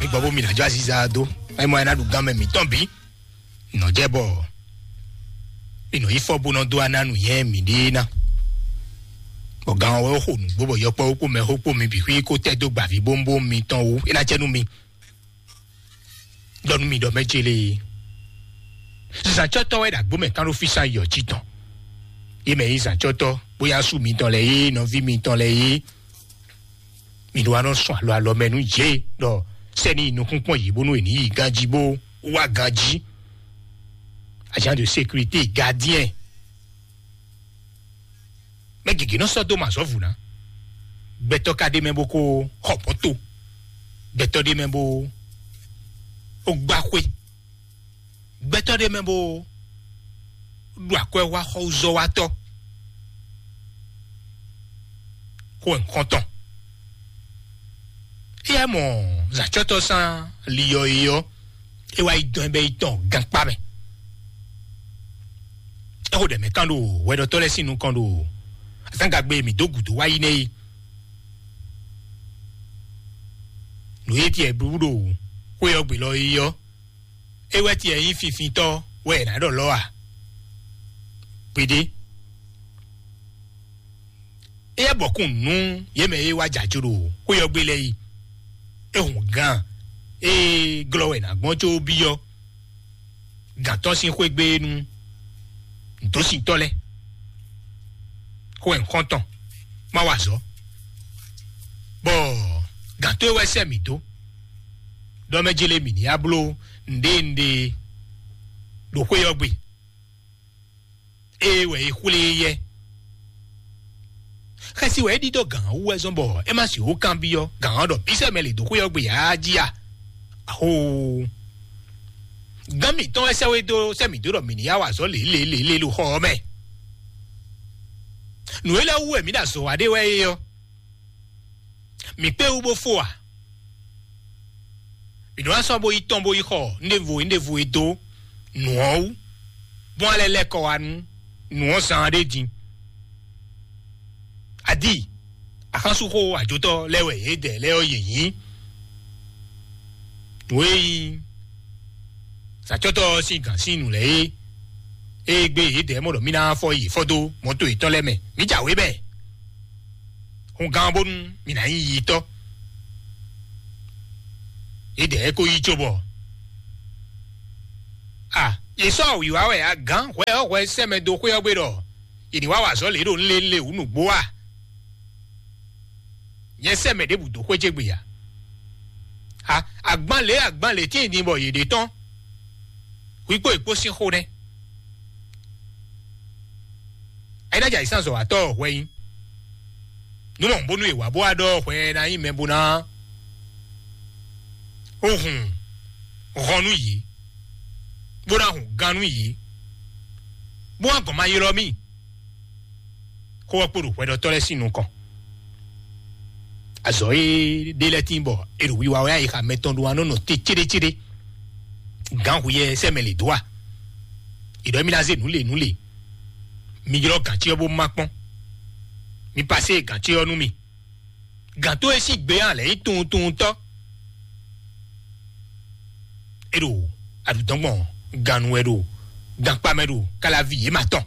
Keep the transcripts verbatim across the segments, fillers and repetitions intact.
Gbɔ bó mi ná jó aziza dó. Ɛ mɔ ɛ ná ɖu gán mɛ mǐtɔn bǐ. Nɔ jɛ bɔ mi nɔ yi fɔ bó nɔ dó aná nu yɛn mi ɖe ná. Bɔ gán ɔ́ wɛ xo nǔgbó bɔ yɔkpɔ́ kpó mɛ xó kpó mi bǐ xwí kó tɛ dó gbǎví bómbóm mitɔn wú. É ná jɛ nú mi. Ɖɔ nú mi ɖɔ mɛ jele. Zǎncɔ́tɔ́ wɛ ɖo agbó mɛ kán ɖó físá yɔ jí tɔn. Yé mɛ yí zǎncɔ́tɔ́, bóyá sú mitɔn lɛ yé, nɔví mitɔn lɛ yé. Mi ɖó wá nɔ sɔn alɔ alɔ mɛ nú yě ɖɔ sɛni nukúnkpɔ́n yě bónú è ní yi ganjí bó wá ganjí. Agent de sécurité, gardien. Mɛ gěgé nɔ sɔ́ dó mɛ azɔ̌ vǔ ná. Gbɛtɔ́ ka ɖ'é mɛ bó kó xɔ mɔ̌to. Gbɛtɔ́ ɖ'é mɛ bó gbá xwé. Gbɛtɔ́ ɖ'é mɛ bó ɖu akwɛ́ wá xɔzɔ́watɔ́. Xó wɛ nukɔn tɔn. Éyɛ́ mɔ zǎcɔ́tɔ́ sán li ɔ́ é ɔ́, é wá yi dɔn ɛ bɛ́ yi tɔn gankpá mɛ. É xo ɖɛ mɛ kán ɖo hwɛɖɔtɔ́ lɛ́ɛ sín nukɔn ɖo azǎngagbe mǐ dó gǔdo wá yi nɛ́ é. Nǔ e tiɛ blú ɖo xwé ɔ́ gbe lɔ é ɔ́, é wɛ tiɛ nyí finfintɔ́ wɛ è nǎ ɖɔ lɔ́ a? Gbeɖé. Éyɛ́ bɔkún nú yě mɛ e wá jǎ jó ɖo xwé ɔ́ gbe lɛ́ɛ yi. É hun gán e glɔ́ wɛ è nǎ gbɔn có byɔ́ gǎn tɔn sín xwé gbe nú nǔdósintɔ́ lɛ́ɛ. Xó wɛ nukɔn tɔn má wa azɔ̌. Bɔ gǎn tó e wɛ sɛ́ mǐ dó ɖɔ mɛ jélé mǐ ní wá bló nǔɖé nǔɖé ɖo xwé ɔ́ gbe. Ée wɛ è xwlé e yɛ. Xɛsi wɛ é ɖidó gǎn ɔ́ wú wɛ zɔ́n bɔ é má sixú kanbyɔ́ gǎn ɔ́ ɖɔ bísɛ́ mɛ lě dó xwé ɔ́ gbe ǎ jí a? Axoo! Gǎn mǐtɔn wɛ sɛ́ wé dó sɛ́ mǐ dó ɖɔ mǐ ní yá wa azɔ̌ lě lě lě lě ɖo xɔ ɔ́ mɛ. Nǔ élɔ́ wú wɛ mǐ ɖo azɔ̌ wa ɖé wɛ é ɔ́. Mǐ kpé wú bó fó a? Mǐ nɔ wá sɔ́ bó yi tɔn bó yi xɔ nɖěvo nɖěvo e dó nǔ ɔ́ wú, bó wá lɛ́ lɛ́ kɔ wá nú nǔ ɔ́ zán ɖé din. Adi, axánsúxó ajotɔ́ lɛ́ɛ wɛ yědɛɛ lɛ́ɛ ɔ́ yě nyí. Nǔ e nyí sacɔ́tɔ́ ɔ́ sín gǎn sín nǔ lɛ́ɛ é, ée gbé yědɛɛ mɔ ɖɔ mí ná fɔ yi fɔ dó mɔ̌to yětɔn lɛ́ɛ mɛ, mǐ jǎwe bɛɛ. Hun gán bónú mǐ ná nyí yitɔ́. Yědɛɛ ko yí cóbɔ a yě sɔ́ wǐwá wɛ a gǎn hwɛ ɔ́ hwɛ sɛ́ mɛ dó xwé ɔ́ gbe ɖɔ yě ní wá wa azɔ̌ lě ɖo nlélé wǔ nǔgbó a? Nyɛ sɛ́ mɛ ɖěbǔ dó xwé ce gbe a? A agban lě agban lě tíin din bɔ yě ɖe tɔn. Hwi kpó yě kpó sín xó nɛ́. Ayínájà yě sán zɔ̌watɔ́ ɔ́ hwɛ nyí. Nú mɔ bónú è wǎ bó wá ɖɔ hwɛ ná nyí mɛ bó ná ó hun hɔn nú yě, bó ná hun gán nú yě, bó wá gɔn ma ylɔ́ mì. Xó ɔ́ kpo ɖo hwɛɖɔtɔ́ lɛ́ɛ sín nukɔn. Azɔ̌ e ɖé lɛ́ɛ tín bɔ è ɖo wiwa wɛ ayixa mɛtɔn ɖó anɔ nɔ te céɖécéɖé. Gǎn hu yɛ sɛ́ mɛ lě dó a? È ɖɔ émí ná zé nǔ le nǔ le. Mi ylɔ́ gǎncí ɔ́ bó má kpɔ́n. Mi pasé gǎncí ɔ́ nú mì. Gǎn tó e sín gbe ɔ́ lɛ̌ nyí tunwuntunwuntɔ́. É ɖo aɖǔdɔ́ngbɔn gannu wɛ ɖo gankpá mɛ ɖo káláví yě ma tɔn.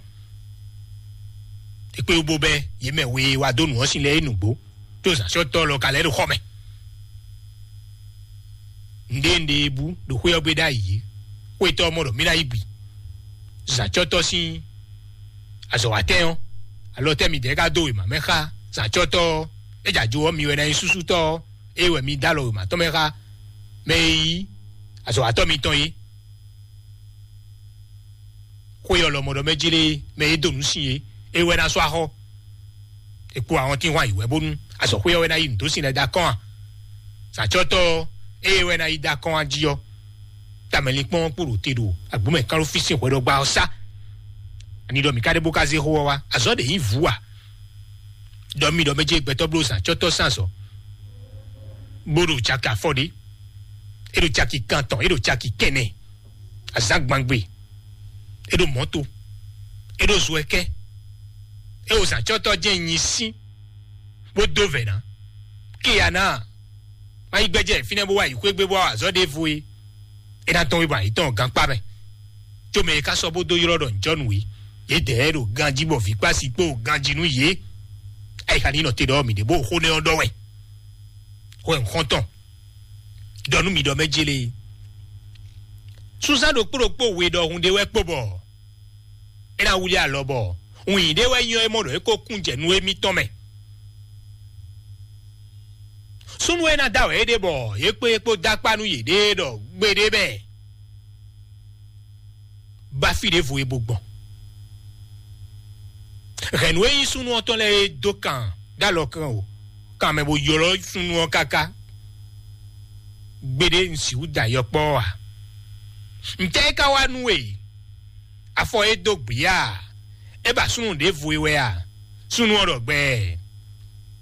È kpé wú bó bɛ́ yě mɛ we e wá dó nǔ ɔ́ sin lɛ́ɛ é nǔgbó, tó zǎnsɔ́tɔ́ lɔ ka lɛ́ ɖo xɔ mɛ. Nǔɖé nǔɖé e bú ɖo xwé ɔ́ gbe ɖ'ayǐ, xwétɔ́ ɔ́ mɔ ɖɔ mì ná yi bǐ. Zǎncɔ́tɔ́ sín azɔ̌watɛ́n ɔ́, alɔ tɛ́ midɛɛ ka dó wěma mɛ xá zǎncɔ́tɔ́ ɔ́? É jɛ ajo ɔ́, mi wɛ ná nyí súsútɔ́ ɔ́, ée wɛ mi dó alɔ wěma tɔn mɛ xá mɛ e nyí azɔ̌watɔ́ mitɔn é. Xwé ɔ́ lɔmɔ̌ ɖɔ mɛ jlé mɛ e dó nǔ sin é, é wɛ ná sɔ́ axɔ́. È kpo ahɔntínhwan yi wɛ bónú azɔ̌xwé ɔ́ wɛ ná yi nǔ dó sin lɛ́ɛ dó akɔ́n a? Sǎcɔ́tɔ́ ɔ́, ée wɛ ná yi dó akɔ́n a jí ɔ́, tamɛlinkpɔ́n ɔ́ kpo ɖo te ɖo agbǒmɛ kán ɖó fí sín hwɛɖɔgba ɔ́ sá. Ani ɖɔ mǐ ka ɖe bó ka zé xó ɔ́ wá? Azɔ̌ ɖě nyí vǔ a? Ɖɔ mi ɖɔ mɛ jɛ gbɛtɔ́ bló sǎcɔ́tɔ́ sín azɔ̌, bó ɖo caki afɔ ɖé, é ɖo caki kantɔn, é ɖo caki kɛnɛ, azǎn gbangbe, é ɖo mɔ̌to, é ɖo zo ɛkɛ, é wo zǎcɔ́tɔ́ jẹ́ nyi sín, bó dó vɛ̌ ná. Kíya ná Má yi gbɛjɛ fínɛ́ bó wá yi xwé gbé bó wá azɔ̌ ɖěvo é. É ná tɔ́n wé bɔ ayǐ tɔn gankpá mɛ. Có mɛ e ka sɔ́ bó dó ylɔ́ ɖɔ ǹjɔ́nǔ é, yědɛɛ ɖo ganjí bɔ vǐ kpási kpó ganjí nú yě. Ayixa ní nɔ te ɖɔ mǐ ɖě bó xó nɛ́ ɔ́ ɖɔ wɛ. Xó ɛ xɔ́ntɔn ɖɔ nú mǐ ɖɔ mɛ jélé. Súnzán ɖokpó ɖokpó we ɖɔhun ɖé wɛ kpo bɔ é ná wlí alɔ bɔ wǐin ɖé wɛ nyɔ é mɔ ɖɔ é ko kún jɛ nú émítɔn mɛ. Súnnu e ná da wɛ é ɖe bɔ yě kpé kpó dó akpá nú yěɖée ɖɔ gbeɖé bɛ ba fí ɖěvo e bo gbɔn. Hɛ̌nnu e nyí súnnu ɔ́ tɔn lɛ́ɛ é dó kan dó alɔ kan o, kan mɛ bo ylɔ́ súnnu ɔ́ káká. Gbeɖé un sixú da yɔkpɔ́ ɔ́ ǎ. Ntɛ́ é ka wá nú we? Afɔ é dó gbǐ a? É ba súnnu ɖěvo e wɛ a? Súnnu ɔ́ ɖɔ gbɛɛ.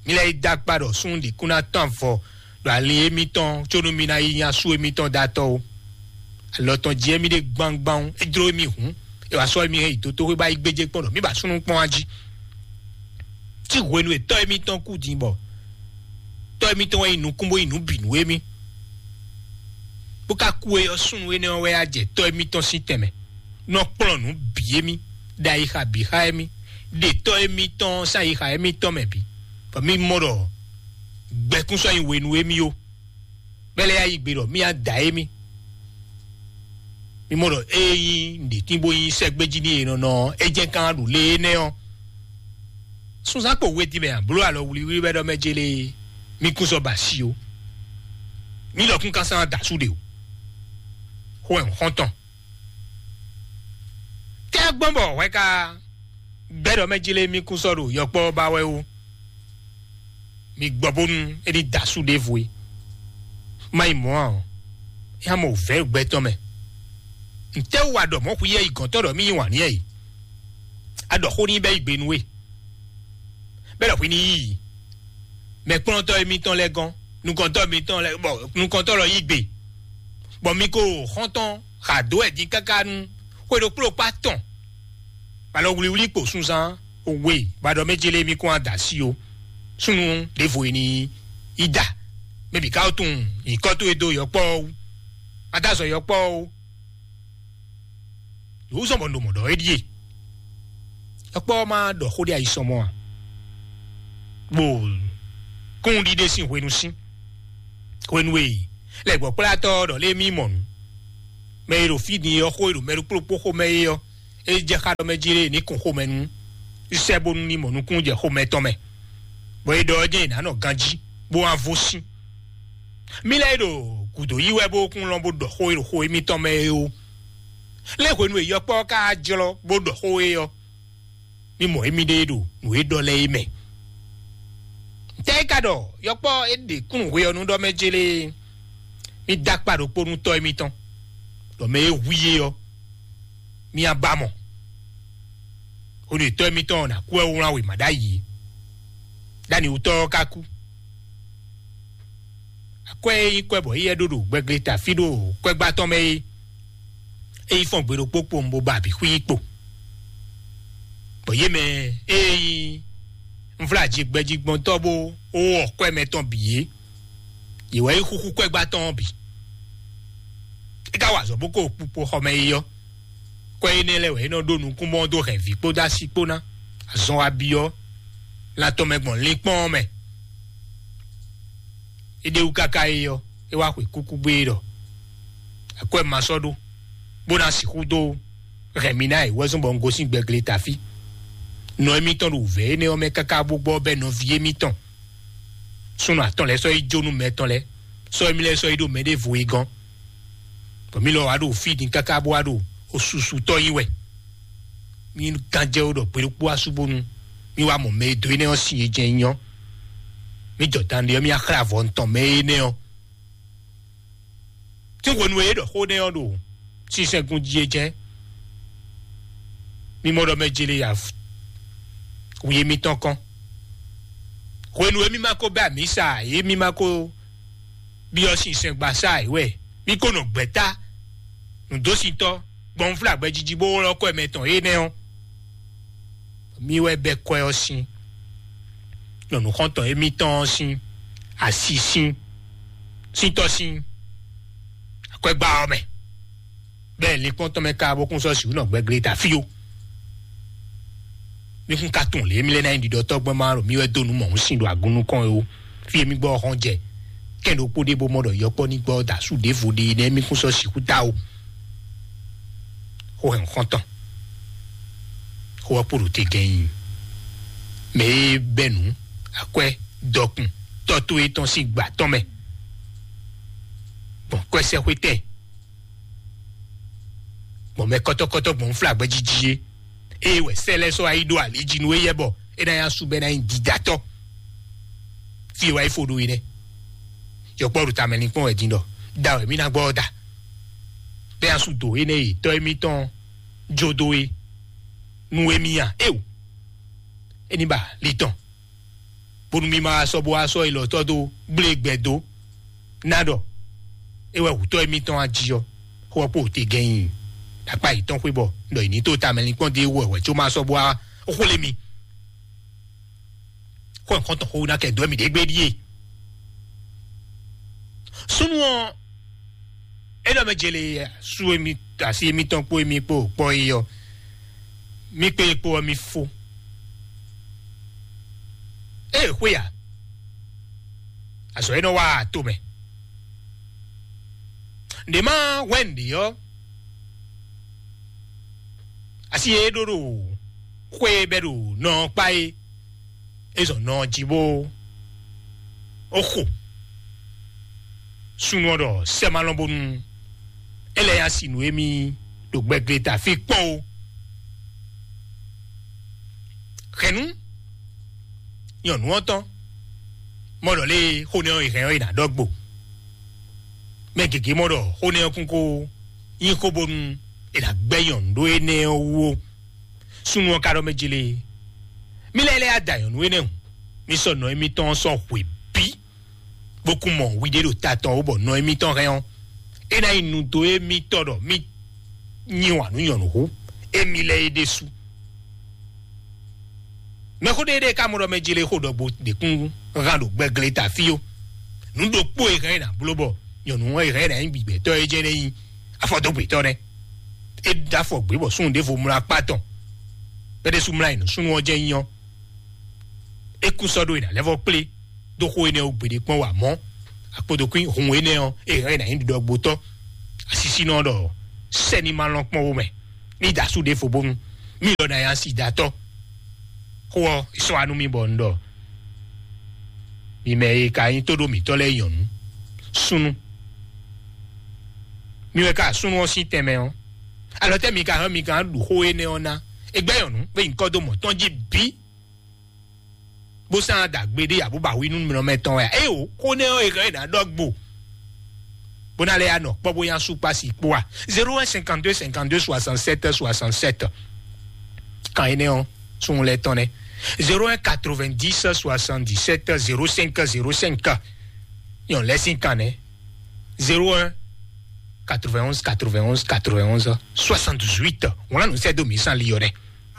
Mi lɛ́ yi dó akpá ɖɔ súnnu ɖě kún ná tɔ́n avɔ ɖo ali émítɔn có nú mi ná yi nya sú émítɔn dó atɔ́ ó. Alɔ tɔn jí émí ɖe gbangban ó, é jló émí hǔn, é wǎ sɔ́ émí hɛn yi dotóxwé bá yi gbéjé kpɔ́n ɖɔ mǐ ba súnnu kpɔ́n wá jí. Tí hwenu e tɔ́ émítɔn kú din bɔ tɔ́ émítɔn wɛ nyi nukún bó nyi nǔ bǐ nú émí, bó ka kú é ɔ́, súnnu énɛ́ ɔ́ wɛ á jɛ tɔ́ émítɔn sín tɛnmɛ, nɔ kplɔ́n nǔ bǐ émí, ɖo ayixa bǐ xá émí, ɖe tɔ́ émítɔn sín ayixa émítɔn mɛ bǐ, bɔ mí mɔ ɖɔ gbɛkún sɔ́ nyi we nú émí ó. Bɛ́ lɛ́ yá yi gbe ɖɔ mí á da émí. Mí mɔ ɖɔ ée nyí nǔɖétín bó nyí sɛ́gbéjí n'i e nɔ nɔ ɔ́, é jɛ́n kán ɖu lě énɛ́ ɔ́. Súnzán kpo we din mɛ a bló alɔ wlíwlí wɛ ɖɔ mɛ jélé mí kún sɔ́ ba asi ó. Mí lɔkún ka sán da sú ɖe o. Xó ɛ xɔ́ntɔn. Tɛ́ gbɔn bɔ hwɛ ka gbɛ́ ɖɔ mɛ jélé mí kún sɔ́ ɖo yɔkpɔ́ ba wɛ ó. Mi gbɔ bónú é ní da sú ɖěvo é. Má yi mɔ̌ ǎ ɔ́, é hán mɔ wǔvɛ́ gbɛtɔ́ mɛ. Ntɛ́ wú a ɖɔ mɔ̌ xwíyɛ́ yi gɔ̌ntɔ́ ɖɔ mí yí wǎn n'i é? A ɖɔ xó n'i bɛ́ yi gbe nú we. Bɛ́ ɖɔ hwi ní yí i. Mɛkplɔ́ntɔ́ émítɔn lɛ́ɛ gɔ́n, nukɔntɔ́ émítɔn lɛ́ɛ bɔ nukɔntɔ́ lɔ yí gbe. Bɔ mi ko xɔ́ntɔn xa dó wɛ din káká nú xwe ɖokpó ɖokpó atɔn. Balɔ wlíwlí kpo sunzán we ba ɖɔ mɛ jélé mi kún ada sí o. Súnnu ɖěvo e ní yi da. Mɛ bǐ ka wó tunwun nyǐkɔ towe dó yɔkpɔ́ ɔ́ wú. Má dó azɔ yɔkpɔ́ ɔ́ wú. Yǒzɔn bɔ un ɖo mɔ̌ ɖɔ é ɖíe. Yɔkpɔ́ ɔ́ má ɖɔ xó ɖé ayisɔmɔ a? Bó kún ɖiɖe sín hwenu sín. Hwenu e lɛgbɔkplátɔ́ ɔ́ ɖɔ lé mí mɔ nǔ. Mɛ e ɖo fí din ɔ́ xó e ɖo mɛ ɖokpó ɖokpó xomɛ é ɔ́, é jɛ xá ɖɔ mɛ jí lé ní kun xomɛ nú sɛ́ bónú ní mɔ nukúnnú jɛ xomɛ tɔn mɛ, bɔ é ɖɔ ɔ́ jɛ́n è nǎ nɔ ganjí bó wá vo sín. Mí lɛ́ɛ e ɖo gǔdo yí wɛ bó kún lɔn bó ɖɔ xó e ɖo xo émítɔn mɛ é ó. Lé hwenu e yɔkpɔ́ ɔ́ ka jlɔ́ bó ɖɔ xó é ɔ́, mí mɔ émíɖée ɖo nǔ e ɖɔ lɛ́ɛ é mɛ. Ntɛ́ é ka ɖɔ yɔkpɔ́ é ɖe kúnnu hwe ɔ́ nú ɖɔ mɛ jélé? Mí dó akpá ɖokpó nú tɔ́ émítɔn, ɖɔ mɛ e hu i é ɔ́, mí á ba mɔ. Hwenu e tɔ́ émítɔn ɔ́ ná kú wɛ wlán wěma ɖ'ayǐ é. Ɖ'anǐwútɔ́ ɔ́ ka kú. Akwɛ́ e nyí kwɛ́ bɔ éyɛ́ ɖó ɖo gbɛgle ta fí ɖo kwɛ́gbá tɔn mɛ é, é yi fɔ́n gbe ɖokpó kpowun bó ba abǐ xwíí kpo. Bɔ yě mɛ e nyí nvláji gbɛjigbɔntɔ́ bó wɔ kwɛ́ mɛ tɔn bǐ é, yě wɛ yi xúxú kwɛ́gbá tɔn ɔ́ bǐ. É ka wa azɔ̌ bó ko kpukpo xɔ mɛ é ɔ́, kwɛ́ énɛ́ lɛ́ɛ wɛ é nɔ ɖó nukúnmɔ dó hɛn vǐ kpódó asi kpó ná. Azɔn wa byɔ́ lan tɔn mɛ gbɔn linkpɔ́n ɔ́ mɛ. É ɖe wú káká é ɔ́, é wá xwe kúkú gbé é ɖɔ: "Akwɛ́ ma sɔ́ ɖó, bó ná sixú dó hɛn mi ná e wɛ́zɔ́n bɔ un gosín gbɛgle tafí." Nɔ émítɔn ɖo wǔvɛ́ énɛ́ ɔ́ mɛ káká bó gbɔ bɛ́ nɔví émítɔn súnnu atɔn lɛ́ɛ sɔ́ yi jó nú mɛ tɔn lɛ́ɛ, sɔ́ émí lɛ́ɛ sɔ́ yi ɖo mɛɖěvo e gɔ́n. Bɔ mí lɔ wá ɖo fí din káká bó wá ɖo osusutɔ́ nyi wɛ. Mí gán jɛ wó ɖɔ gbe ɖokpó asú bónú mí wá mɔ mɛ e dó énɛ́ ɔ́ sin e jɛ́n nyí ɔ́. Mí jɔ dan ɖe ɔ́, mí axlá avɔ ntɔn mɛ énɛ́ ɔ́. Tí hwenu e é ɖɔ xó nɛ́ ɔ́ ɖo sinsɛngun jí é jɛ́n, mí mɔ ɖɔ mɛ jele ya wi émítɔn kɔn. Hwenu e mí ma ko bɛ́ amǐ sa ǎ, é mí ma ko byɔ́ sinsɛngbasá ǎ wɛ mí ko nɔ gbɛ̌ta nǔdósintɔ́ gbɔn nǔflágbɛ́ jiji bó wlɔ́ kɔ́ mɛ tɔn énɛ́ ɔ́. Mí wɛ bɛ́ kɔ́ ɔ́ sín nɔ̌nǔxɔ́ntɔn émítɔn ɔ́ sín asi sín. sín tɔ́ sín akwɛ́gbá ɔ́ mɛ, bɛ́ linkpɔ́n tɔn mɛ ka bó kún sɔ́ sǐ nɔ gbɛglé ta fí ó. Mi kún ka tunwun lě mi lɛ́ ná nyi ɖiɖɔ tɔ́gbɛ́n ma ɖo mi wɛ dó nǔ mɔ̌hun sin ɖo agun nukɔn é ó. Fí e mi gbɔ ɔ́ hɔn jɛ kɛn ɖokpó ɖé bó mɔ ɖɔ yɔkpɔ́ ní gbɔ da sú ɖěvo ɖé nɛ́ mi kún sɔ́ sixú ta ó. Xó hɛn xɔ́ntɔn xó ɔ́ kpo ɖo te gɛ́n nyi mɛ e bɛ́ nǔ akwɛ́ dɔkun tɔ́ towe tɔn sín gbǎ tɔn mɛ gbɔn kwɛ́sɛ́xwé tɛn gbɔn mɛ kɔ́tɔ́kɔ́tɔ́ gbɔn flagbɛ́ jiji é. Ée wɛ sɛ́ lɛ́ɛ sɔ́ wá yi ɖó ali jí nú éyɛ́ bɔ é ná nyí asú bɔ é ná nyí didatɔ́. Fí e wá yi fo ɖó é nɛ́. Yɔkpɔ́ ɖo tamɛ linkpɔ́n wɛ din ɖɔ da wɛ mí ná gbɔ ɔ́ da. Bɛ́ asú dǒ énɛ́ e tɔ́ émítɔn jó dó é nú émí a? Éo, é ní ba li tɔn bónú mí ma wá sɔ́ bó wá sɔ́ ilɔtɔ́ dó gblé gbɛ dó ná ɖɔ é wɛ wǔtɔ́ émítɔn a jí ɔ́, xó ɔ́ kpo te gɛ́n nyi akpá yětɔn xwé bɔ ɖɔ yě ní tó tamɛ linkpɔ́n dó é wɛ wɛ có ma sɔ́ bó wá xwlé mi. Xó nǔkɔntɔn xó ná kɛ dó mì ɖě gbé ɖíe. Súnnu ɔ́, é ɖɔ mɛ jele sú émi asi émítɔn kpó émi kpó kpɔ́ é ɔ́, mí kpé é kpó ɔ́ mí fó. Ée xwé a, azɔ̌ é nɔ wa to mɛ. Nɖě ma hwɛ́n nǔɖé ɔ́, asi e é ɖó ɖo xwé e bɛ́ ɖo nɔ ɔ́ kpá é, é zɔn nɔ ɔ́ jí bó ó xo. Súnnu ɔ́ ɖɔ sɛ́ ma lɔn bónú é lɛ́ nyi asi nǔ émí ɖo gbɛgleta fí kpɔ́n ó. Hɛ̌nnu nyɔ̌nu ɔ́ tɔn mɔ ɖɔ lé xó nɛ́ ɔ́ è hɛn ɔ́ è nǎ ɖɔ gbo. Mɛ gěgé mɔ ɖɔ xó nɛ́ ɔ́ kún kó nyí xó bónú è nǎ gbɛ́ nyɔ̌nu ɖó énɛ́ ɔ́ wú ó. Súnnu ɔ́ ka ɖɔ mɛ jélé, mí lɛ́ lɛ́ ada nyɔ̌nu énɛ́ hǔn, mí sɔ́ nɔ émítɔn ɔ́ sɔ́ hwe bǐ, bó kún mɔ hwiɖée ɖo ta tɔn ó bɔ nɔ émítɔn hɛn ɔ́, é ná nyí nu dó émítɔn ɖɔ mí nyi wǎn nú nyɔ̌nu hú émí lɛ́ɛ é ɖésú. Mɛxó ɖé ɖé ka mɔ ɖɔ mɛ jélé xó ɖɔgbo ɖě kún hán ɖo gbɛglé ta fí ó. Nǔ ɖokpó e hɛn é nǎ bló bɔ nyɔ̌nu ɔ́ e hɛn é nǎ nyí gbigbɛtɔ́ é jɛ́n é nyí afɔdógbetɔ́ nɛ́. É ɖó afɔ gbě bɔ súnnu ɖěvo mlá akpá tɔn. Bɛ́ ɖésú mlá yi nǔ súnnu ɔ́ jɛ́n nyí ɔ́, é kún sɔ́ ɖó e nǎ lɛ́ vɔ́ kplé dó xó énɛ́ ɔ́ gbeɖé kpɔ́n wǎ mɔ̌. Akpodokún hun énɛ́ ɔ́, é hɛn é nǎ nyí ɖiɖɔgbotɔ́. Asisínɔ ɖɔ sɛ́ni ma lɔn kpɔ́n wo mɛ ní da asú ɖěvo bónú mí lɔ ná nyí asidatɔ́. Xó ɔ́, è sɔ́ wá nú mì bɔ un ɖɔ mi mɛ e ka nyí tóɖó mǐtɔn lɛ́ɛ nyɔ̌nu, súnnu. Mi wɛ ka súnnu ɔ́ sín tɛnmɛ ɔ́, alɔ tɛ́ mi ka hɛn mi ka ɖu xó énɛ́ ɔ́ ná? È gbɛ́ nyɔ̌nu bó yi nyǐkɔ dó mɔ̌ tɔn jí bǐ, bó sán dǎgbé ɖé abó ba hwi nú mɛ tɔn wɛ a? Éyo, xó nɛ́ ɔ́ è hɛn è nǎ ɖɔ gbo bó ná lɛ́ ya nɔ kpɔ́ bó nyá sú kpá si kpó a? Zéro un cinquante-deux cinquante-deux soixante-sept soixante-sept. Kan énɛ́ ɔ́, súnnu lɛ́ɛ tɔn nɛ́. Zéro un quatre-vingt-dix soixante-dix-sept zéro cinq zéro cinq. Nyɔ̌nu lɛ́ɛ sín kan nɛ́. Zéro un quatre-vingt-onze quatre-vingt-onze quatre-vingt-onze soixante-dix-huit. Wọ́n lá nǔ sɛ́ dó mǐ sán li ɔ́ nɛ́.